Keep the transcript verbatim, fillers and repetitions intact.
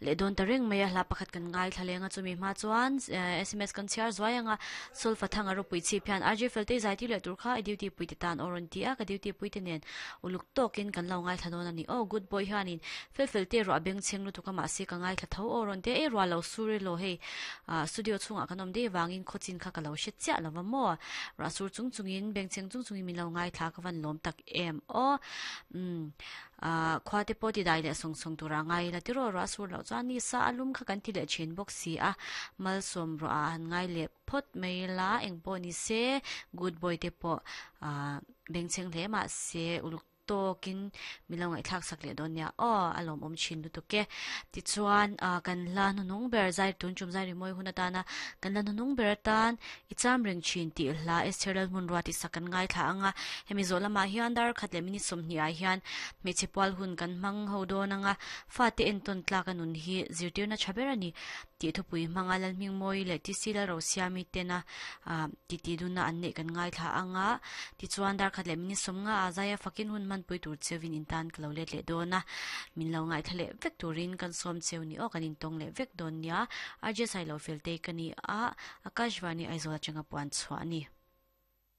Le don ta reng mai a hla pakhat kan ngai thlalenga chumi hma chuan S M S kan chhiar zuai anga sulfa thanga ropui chip hian R J felte zai ti leh tur kha i duty pui te tan oron ti a ka duty pui te nen uluk tokin kan lo ngai thla ani o good boy hianin fel fel te ro beng cheng lu tuka ma se ka ngai thla tho oron te e ro lo suri lo hei studio chunga kanom de wangin khochin kha ka lo she cha lawa mo ra sur chung chungin beng cheng chung chungin min lo ngai thla ka van lom tak em o um a khwate poti dai le song song tura ngai la tiro ra sur lo chuan ni sa alum kha kan ti le chin box si a mal som ro a han ngai le phot mai la eng po ni se good boy te po a beng cheng hle ma se uluk tokin milong ai thlak sak le don nia o alom om chin lu to ke ti chuan kan la nu nung ber zai tun chum zai ri moi hun atana kan la nu nung ber tan i cham reng chin ti hla Esther mun ruati sakan ngai thla anga hemi zola ma hian dar khat le mini som ni a hian me chepwal hun kan mang ho do nanga fa te en ton tla kanun hi zirtir na chaber ani ti thupui mangalal ming moi le ti sila ro siami tena ti ti duna an ne kan ngai thla anga ti chuan dar khat le mini som nga azaya fakin hun man pui tur chewin in tan klo let le dona min lo ngai thale vek turin kan som cheu ni o kan in tong le vek don nia aje sai lo fel te kani a Akashvani Aizawl changa puan chhuani.